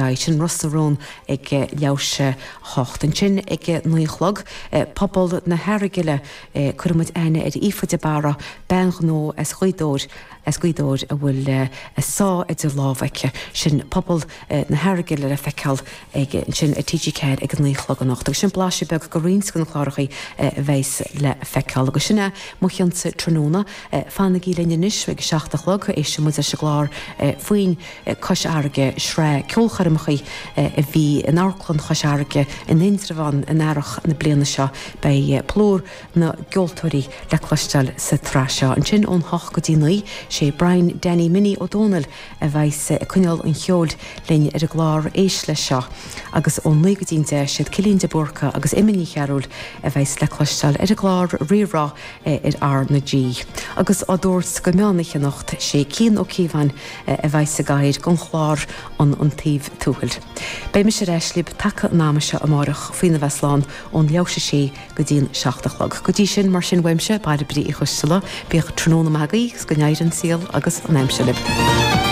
aghaidh. Sin Ros na Rún ag leathuair théis a 8. Ansin ag a 9 a chlog, Pobal na hEargaile, cuirfidh muid aithne ar Aoife de Barra, bean ghnó as Gaoth Dobhair, as Gaoth Dobhair a bhfuil a sáith idir lámha aici. Sin Pobal na hEargaile le feiceáil ag ansin ar TG4 ag a 9 a chlog anocht. Agus sin blaiseadh beag de roinnt de na clárachaí a bheas le feiceáil. Agus sin é mo chionsa tráthnóna. Fanaigí linn anois ag a 7 a chlog, éistfidh muid leis an gclár Foinn Cois Fharraige, sraith ceolchoirmeacha a bhí in Amharclann Chois Fharraige in Indreabhán in earrach na bliana seo. Beidh plúr na gceoltóirí le cloisteáil sa tsraith seo. Ansin ón hocht go dtí 9, sé Brian Danny Minnie Ó Dónaill a bheas ag coinneáil an cheoil linn ar an gclár Éist Leis Seo agus ón 9 go dtí'n 10, siad Cillian de Búrca agus Emma Ní Chearúil a bheas le cloisteáil ar an gclár Rí-Rá ar R na G. Agus á dtabhairt go meán oíche anocht, sé Cian Ó Cíobháin a bheas i gcathaoir don chlár An Taobh Tuathail. Beidh mise ar ais libh taca an ama seo amárach faoina bheith slán ón leathuair théis a sé go dtí'n 7 a chlog. Go dtí sin, mar sin uaimse, Bairbre Uí Choisteala, bíodh tráthnóna maith agaibh agus go n-éirí an saol agus an aimsir libh.